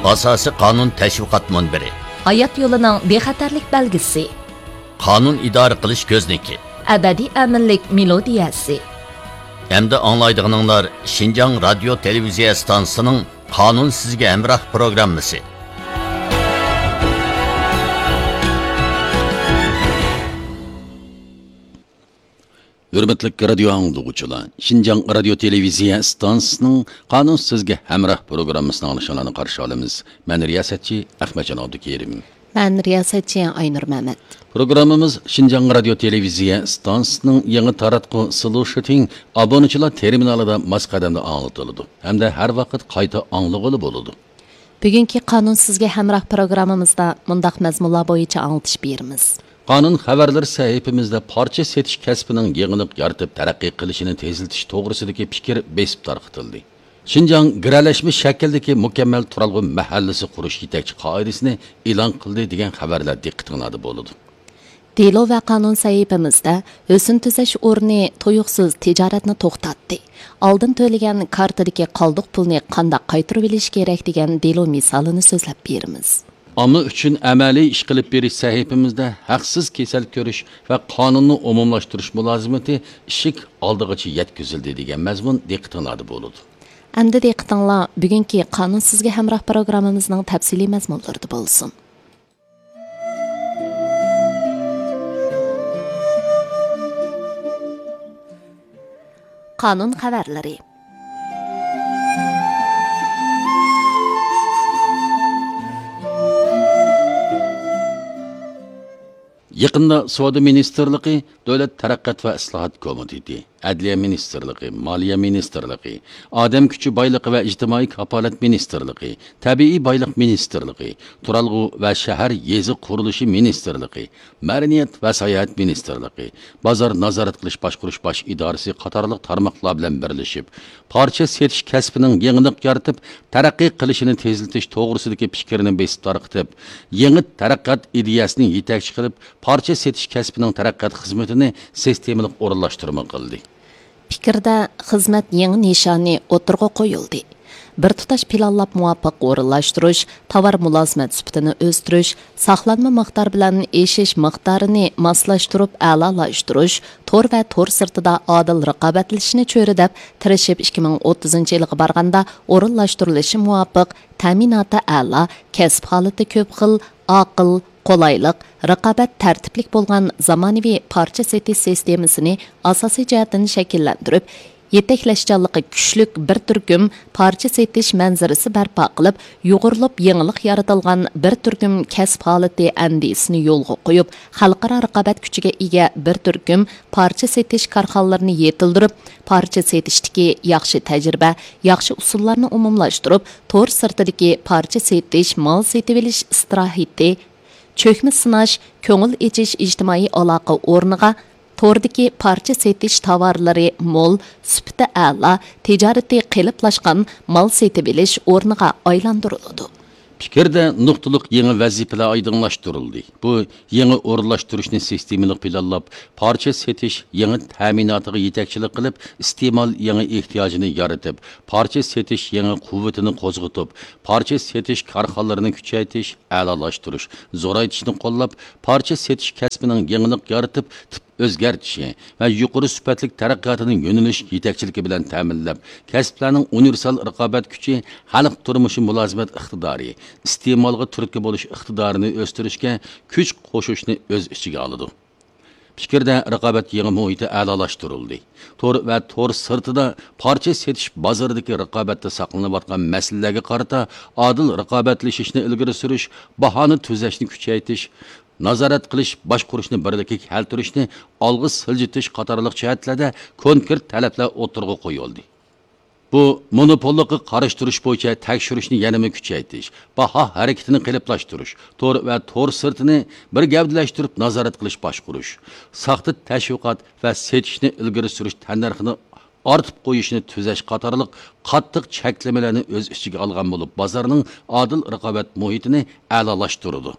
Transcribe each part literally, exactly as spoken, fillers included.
ئاساسىي قانۇن تەشۋىقات مۇنبىرى. ھايات يولىنىڭ بىخەتەرلىك بەلگىسى. قانۇن ئىدارە قىلىش كۆزنىكى. ئەبەدىي ئەمىنلىك مېلودىيەسى. ئەمدى ئاڭلايدىغىنىڭلار شىنجاڭ رادىيو تېلېۋىزىيە ئىستانسىسىنىڭ قانۇن سىزگە ھەمراھ پروگراممىسى. ھۆرمەتلىك رادىيو ئاڭلىغۇچىلار، شىنجاڭ رادىيو تېلېۋىزىيە ئىستانسىسىنىڭ قانۇن سىزگە ھەمراھ پروگراممىسىنى ئاڭلىشىڭلارنى قارشى ئالىمىز. مەن رىياسەتچى ئەخمەتجان ئابدۇكېرىم. مەن رىياسەتچى ئاينۇر مەمەت. پروگراممىمىز شىنجاڭ رادىيو تېلېۋىزىيە ئىستانسىسىنىڭ يېڭى تاراتقۇ سلوشىتىڭ ئابۇنىچىلار تېرمىنالىدا ماس قەدەمدە ئاڭلىتىلىدۇ ھەمدە ھەر ۋاقىت قايتا ئاڭلىغىلى بولىدۇ. بۈگۈنكى قانۇن سىزگە ھەمراھ پروگراممىمىزدا مۇنداق مەزمۇنلار بويىچە ئاڭلىتىش بېرىمىز. قانۇن خەۋەرلىرى سەھىپىمىزدە پارچە سېتىش كەسپىنىڭ يېڭىلىق يارىتىپ تەرەققىي قىلىشىنى تېزلىتىش توغرىسىدىكى پىكىر بېسىپ تارقىتىلدى. شىنجاڭ گىرەلەشمە شەكىلدىكى مۇكەممەل تۇرالغۇ مەھەللىسى قۇرۇش يېتەكچى قائىدىسىنى ئېلان قىلدى دېگەن خەۋەرلەر دىققىتىڭلاردا بولىدۇ. دېلو ۋە قانۇن سەھىپىمىزدە ھۆسن تۈزەش ئورنى تۇيۇقسىز تىجارەتنى توختاتتى. ئالدىن تۆلىگەن كارتىدىكى قالدۇق پۇلنى قانداق قايتۇرۇۋېلىش كېرەك دېگەن دېلو مىسالىنى سۆزلەپ بېرىمىز. ئامما ئۈچۈن ئەمەلىي ئىش قىلىپ بېرىش سەھىپىمىزدە ھەقسىز كېسەل كۆرۈش ۋە قانۇننى ئومۇملاشتۇرۇش مۇلازىمىتى ئىشىك ئالدىغىچە يەتكۈزۈلدى دېگەن مەزمۇن دىققىتىڭلاردا بولىدۇ. ئەمدى دىققىتىڭلار بۈگۈنكى قانۇن سىزگە ھەمراھ پروگراممىمىزنىڭ تەپسىلىي مەزمۇنلىرىدا بولسۇن. قانۇن خەۋەرلىرى. يېقىندا سودا مىنىستىرلىقى، دۆلەت تەرەققىيات ۋە ئىسلاھات كومىتېتى، ئەدلىيە مىنىستىرلىقى، مالىيە مىنىستىرلىقى، ئادەم كۈچى بايلىقى ۋە ئىجتىمائىي كاپالەت مىنىستىرلىقى، تەبىئىي بايلىق مىنىستىرلىقى، تۇرالغۇ ۋە شەھەر يېزا قۇرۇلۇشى مىنىستىرلىقى، مەدەنىيەت ۋە ساياھەت مىنىستىرلىقى، بازار نازارەت قىلىش باشقۇرۇش باش ئىدارىسى قاتارلىق تارماقلار بىلەن بىرلىشىپ، پارچە سېتىش كەسپىنىڭ يېڭىلىق يارىتىپ، تەرەققىي قىلىشىنى تېزلىتىش توغرىسىدىكى پىكىرنى بېسىپ تارقىتىپ، يېڭى تەرەققىيات ئىدىيەسىنى يېتەكچى قىلىپ، پارچە سېتىش كەسپىنىڭ تەرەققىيات خىزمىتىنى سىستېمىلىق ئورۇنلاشتۇرما قىلدى. پىكىردە خىزمەت يېڭى نىشانى ئوتتۇرىغا قويۇلدى. بىر تۇتاش پىلانلاپ مۇۋاپىق ئورۇنلاشتۇرۇش، تاۋار مۇلازىمەت سۈپىتىنى ئۆستۈرۈش، ساقلانما مىقدار بىلەن ئېشىش مىقدارىنى ماسلاشتۇرۇپ ئەلالاشتۇرۇش، تور ۋە تور سىرتىدا ئادىل رىقابەتلىشىشنى چۆرىدەپ، تىرىشىپ ئىككى مىڭ ئوتتۇزىنچى يىلغا بارغاندا ئورۇنلاشتۇرۇلۇشى مۇۋاپىق، تەمىناتى ئەلا، كەسىپ ھالىتى كۆپ خىل، ئاقىل، قولايلىق، رىقابەت تەرتىپلىك بولغان زامانىۋى پارچە سېتىش سىستېمىسىنى ئاساسىي جەھەتتىن شەكىللەندۈرۈپ، يېتەكلەشچانلىقى كۈچلۈك بىر تۈركۈم پارچە سېتىش مەنزىرىسى بەرپا قىلىپ، يۇغۇرۇلۇپ يېڭىلىق يارىتىلغان بىر تۈركۈم كەسىپ ھالىتى ئەندىزىسىنى يولغا قويۇپ، خەلقئارا رىقابەت كۈچىگە ئىگە بىر تۈركۈم پارچە سېتىش كارخانىلىرىنى يېتىلدۈرۈپ، پارچە سېتىشتىكى ياخشى تەجرىبە، ياخشى ئۇسۇللارنى ئومۇملاشتۇرۇپ، تور سىرتىدىكى پارچە سېتىش، مال سېتىۋېلىش ئىستىراھىتى، چۆكمە سىناش، كۆڭۈل ئېچىش ئىجتىمائىي ئالاقە ئورنىغا، توردىكى پارچە سېتىش تاۋارلىرى مول، سۈپىتى ئەلا، تىجارىتى قېلىپلاشقان مال سېتىۋېلىش ئورنىغا ئايلاندۇرۇلىدۇ. پىكىردە نۇقتىلىق يېڭى ۋەزىپىلەر ئايدىڭلاشتۇرۇلدى. بۇ يېڭى ئورۇنلاشتۇرۇشنى سىستېمىلىق پىلانلاپ، پارچە سېتىش يېڭى تەمىناتىغا يېتەكچىلىك قىلىپ، ئىستېمال يېڭى ئېھتىياجىنى يارىتىپ، پارچە سېتىش يېڭى قۇۋۋىتىنى قوزغىتىپ، پارچە سېتىش كارخانىلىرىنى كۈچەيتىش، ئەلالاشتۇرۇش، زورايتىشنى قوللاپ، پارچە سېتىش كەسپىنىڭ يېڭىلىق يارىتىپ، تىپ ئۆزگەرتىشى ۋە يۇقىرى سۈپەتلىك تەرەققىياتىنىڭ يۆنىلىش يېتەكچىلىكى بىلەن تەمىنلەپ، كەسىپلەرنىڭ ئۇنىۋېرسال رىقابەت كۈچى، خەلق تۇرمۇشى مۇلازىمەت ئىقتىدارى، ئىستېمالغا تۈرتكە بولۇش ئىقتىدارىنى ئۆستۈرۈشكە كۈچ قوشۇشنى ئۆز ئىچىگە ئالىدۇ. پىكىردە رىقابەت يېڭى مۇھىتى ئەلالاشتۇرۇلدى. تور ۋە تور سىرتىدا پارچە سېتىش بازىرىدىكى رىقابەتتە ساقلىنىۋاتقان مەسىلىلەرگە قارىتا ئادىل رىقابەتلىشىشنى ئىلگىرى سۈرۈش، باھانى تۈزەشنى كۈچەيتىش، نازارەت قىلىش، باشقۇرۇشنى بىرلىككە كەلتۈرۈشنى ئالغا سىلجىتىش قاتارلىق جەھەتلەردە كونكرېت تەلەپلەر ئوتتۇرىغا قويۇلدى. بۇ مونوپوللۇققا قارشى تۇرۇش بويىچە تەكشۈرۈشنى يەنىمۇ كۈچەيتىش، باھا ھەرىكىتىنى قېلىپلاشتۇرۇش، تور ۋە تور سىرتىنى بىر گەۋدىلەشتۈرۈپ نازارەت قىلىش باشقۇرۇش، ساختا تەشۋىقات ۋە سېتىشنى ئىلگىرى سۈرۈش تەننەرخىنى ئارتىپ قويۇشنى تۈزەش قاتارلىق قاتتىق چەكلىمىلەرنى ئۆز ئىچىگە ئالغان بولۇپ، بازارنىڭ ئادىل رىقابەت مۇھىتىنى ئەلالاشتۇرىدۇ.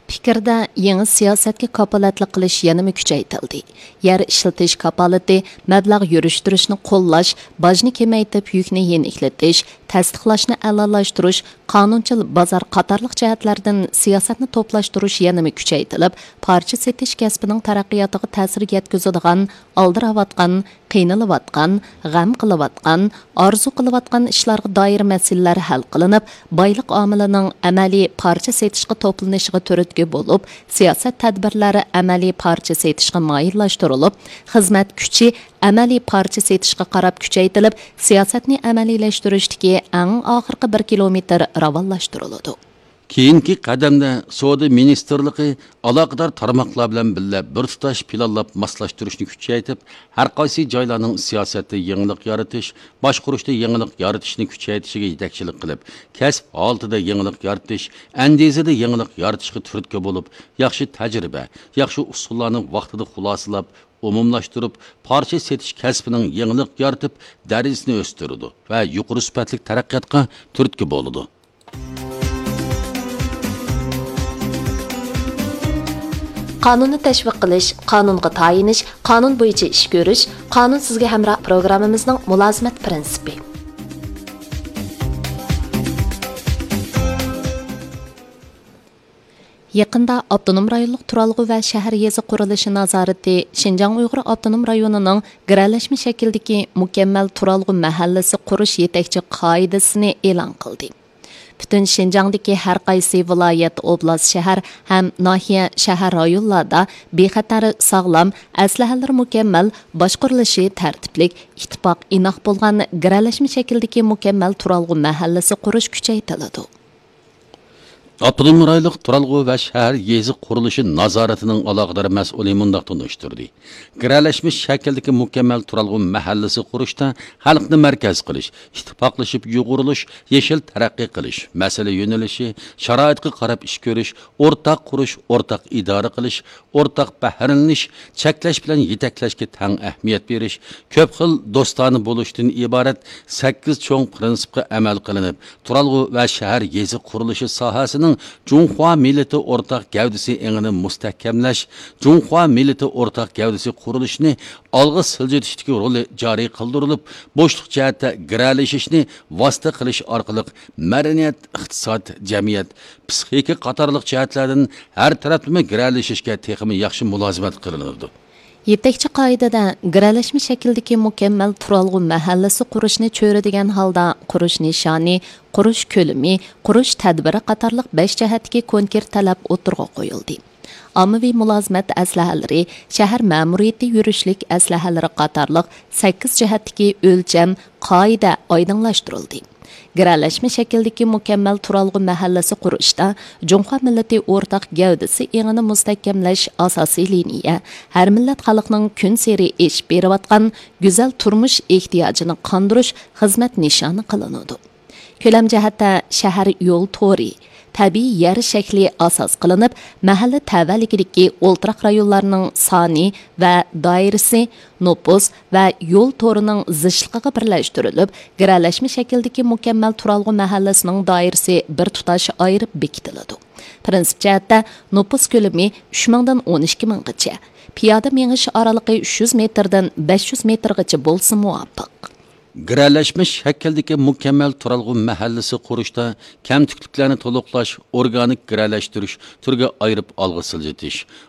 پىكىردە، يېڭى سىياسەتكە كاپالەتلىك قىلىش يەنىمۇ كۈچەيتىلدى. يەر ئىشلىتىش كاپالىتى، مەبلەغ يۈرۈشتۈرۈشنى قوللاش، باجنى كېمەيتىپ يۈكنى يېنىكلىتىش، تەستىقلاشنى ئەلالاشتۇرۇش، قانۇنچىل بازار قاتارلىق جەھەتلەردىن سىياسەتنى توپلاشتۇرۇش يەنىمۇ كۈچەيتىلىپ، پارچە سېتىش كەسپىنىڭ تەرەققىياتىغا تەسىر يەتكۈزىدىغان ئالدىراۋاتقان، قىينىلىۋاتقان، غەم قىلىۋاتقان، ئارزۇ قىلىۋاتقان ئىشلارغا دائىر مەسىلىلەر ھەل قىلىنىپ، بايلىق ئامىلىنىڭ ئەمەلىي پارچە سېتىشقا توپلىنىشىغا تۈرتكە بولۇپ، سىياسەت تەدبىرلەر ئەمەلىي پارچە سېتىشقا مايىللاشتۇرۇلۇپ، خىزمەت كۈچى ئەمەلىي پارچە سېتىشقا قاراپ كۈچەيتىلىپ، سىياسەتنى ئەمەلىيلەشتۈرۈشتىكى ئەڭ ئاخىرقى بىر كىلومېتىر راۋانلاشتۇرۇلىدۇ. كېيىنكى قەدەمدە سودا مىنىستىرلىقى ئالاقىدار تارماقلار بىلەن بىللە بىر تۇتاش پىلانلاپ ماسلاشتۇرۇشنى كۈچەيتىپ، ھەر قايسى جايلارنىڭ سىياسەتتە يېڭىلىق يارىتىش، باشقۇرۇشتا يېڭىلىق يارىتىشنى كۈچەيتىشىگە يېتەكچىلىك قىلىپ، كەسىپ ھالىتىدە يېڭىلىق يارىتىش، ئەندىزىدە يېڭىلىق يارىتىشقا تۈرتكە بولۇپ، ياخشى تەجرىبە، ياخشى ئۇسۇللارنى ۋاقتىدا خۇلاسىلاپ، ئومۇملاشتۇرۇپ، پارچە سېتىش كەسپىنىڭ يېڭىلىق يارىتىپ، دەرىجىسىنى ئۆستۈرىدۇ ۋە يۇقىرى سۈپەتلىك تەرەققىياتقا تۈرتكە بولىدۇ. قانۇننى تەشۋىق قىلىش، قانۇنغا تايىنىش، قانۇن بويىچە ئىش كۆرۈش، قانۇن سىزگە ھەمراھ پروگراممىمىزنىڭ مۇلازىمەت پىرىنسىپى. يېقىندا ئاپتونوم رايونلۇق تۇرالغۇ ۋە شەھەر يېزا قۇرۇلۇشى نازارىتى شىنجاڭ ئۇيغۇر ئاپتونوم رايونىنىڭ گىرەلەشمە شەكىلدىكى مۇكەممەل تۇرالغۇ مەھەللىسى قۇرۇش يېتەكچى قائىدىسىنى ئېلان قىلدى. پۈتۈن شىنجاڭدىكى ھەر قايسى ۋىلايەت، ئوبلاست، شەھەر ھەم ناھىيە، شەھەر، رايونلاردا بىخەتەر، ساغلام، ئەسلىھەلىرى مۇكەممەل، باشقۇرۇلۇشى تەرتىپلىك، ئىتتىپاق ئىناق بولغان گىرەلەشمە شەكىلدىكى مۇكەممەل تۇرالغۇ مەھەللىسى قۇرۇش كۈچەيتىلىدۇ. ئاپتونوم رايونلۇق تۇرالغۇ ۋە شەھەر يېزا قۇرۇلۇشى نازارىتىنىڭ ئالاقىدار مەسئۇلى مۇنداق تونۇشتۇردى: گىرەلەشمە شەكىلدىكى مۇكەممەل تۇرالغۇ مەھەللىسى قۇرۇشتا خەلقنى مەركەز قىلىش، ئىتتىپاقلىشىپ يۇغۇرۇلۇش، يېشىل تەرەققىي قىلىش، مەسىلە يۆنىلىشى، شارائىتقا قاراپ ئىش كۆرۈش، ئورتاق قۇرۇش، ئورتاق ئىدارە قىلىش، ئورتاق بەھرىلىنىش، چەكلەش بىلەن يېتەكلەشكە تەڭ ئەھمىيەت بېرىش، كۆپ خىل دوستانە بولۇشتىن ئىبارەت سەككىز چوڭ پىرىنسىپقا ئەمەل قىلىنىپ، تۇرالغۇ ۋە شەھەر يېزا قۇرۇلۇشى ساھەسىنىڭ جۇڭخۇا مىللىتى ئورتاق گەۋدىسى ئېڭىنى مۇستەھكەملەش، جۇڭخۇا مىللىتى ئورتاق گەۋدىسى قۇرۇلۇشىنى ئالغا سىلجىتىشتىكى رولى جارى قىلدۇرۇلۇپ، بوشلۇق جەھەتتە گىرەلىشىشنى ۋاسىتە قىلىش ئارقىلىق مەدەنىيەت، ئىقتىساد، جەمئىيەت، پسىخىكا قاتارلىق جەھەتلەردىن ھەر تەرەپلىمە گىرەلىشىشكە تېخىمۇ ياخشى مۇلازىمەت قىلىنىدۇ. يېتەكچى قائىدىدە گىرەلەشمە شەكىلدىكى مۇكەممەل تۇرالغۇ مەھەللىسى قۇرۇشنى چۆرىدىگەن ھالدا قۇرۇش نىشانى، قۇرۇش كۆلىمى، قۇرۇش تەدبىرى قاتارلىق بەش جەھەتتىكى كونكرېت تەلەپ ئوتتۇرىغا قويۇلدى. ئاممىۋى مۇلازىمەت ئەسلىھەلىرى، شەھەر مەمۇرىيىتى يۈرۈشلۈك ئەسلىھەلىرى قاتارلىق سەككىز جەھەتتىكى ئۆلچەم، قائىدە ئايدىڭلاشتۇرۇلدى. گىرەلەشمە شەكىلدىكى مۇكەممەل تۇرالغۇ مەھەللىسى قۇرۇشتا جۇڭخۇا مىللىتى ئورتاق گەۋدىسى ئېڭىنى مۇستەھكەملەش ئاساسىي لىنىيە، ھەر مىللەت خەلقنىڭ كۈنسېرى ئېشىپ بېرىۋاتقان گۈزەل تۇرمۇش ئېھتىياجىنى قاندۇرۇش خىزمەت نىشانى قىلىنىدۇ. كۆلەم جەھەتتە شەھەر يول تورى، تەبىئىي يەر شەكلى ئاساس قىلىنىپ، مەھەللە تەۋەلىكىدىكى ئولتۇراق رايونلارنىڭ سانى ۋە دائىرىسى، نوپۇس ۋە يول تورىنىڭ زىچلىقىغا بىرلەشتۈرۈلۈپ، گىرەلەشمە شەكىلدىكى مۇكەممەل تۇرالغۇ مەھەللىسىنىڭ دائىرىسى بىر تۇتاش ئايرىپ بېكىتىلىدۇ. پىرىنسىپ جەھەتتە، نوپۇس كۆلىمى ئۈچ مىڭدىن ئون ئىككى مىڭغىچە، پىيادە مېڭىش ئارىلىقى ئۈچ يۈز مېتىردىن بەش يۈز مېتىرغىچە بولسا مۇۋاپىق. گىرەلەشمە شەكىلدىكى مۇكەممەل تۇرالغۇ مەھەللىسى قۇرۇشتا كەمتۈكلۈكلەرنى تولۇقلاش، ئورگانىك گىرەلەشتۈرۈش، تۈرگە ئايرىپ ئالغا سىلجىتىش،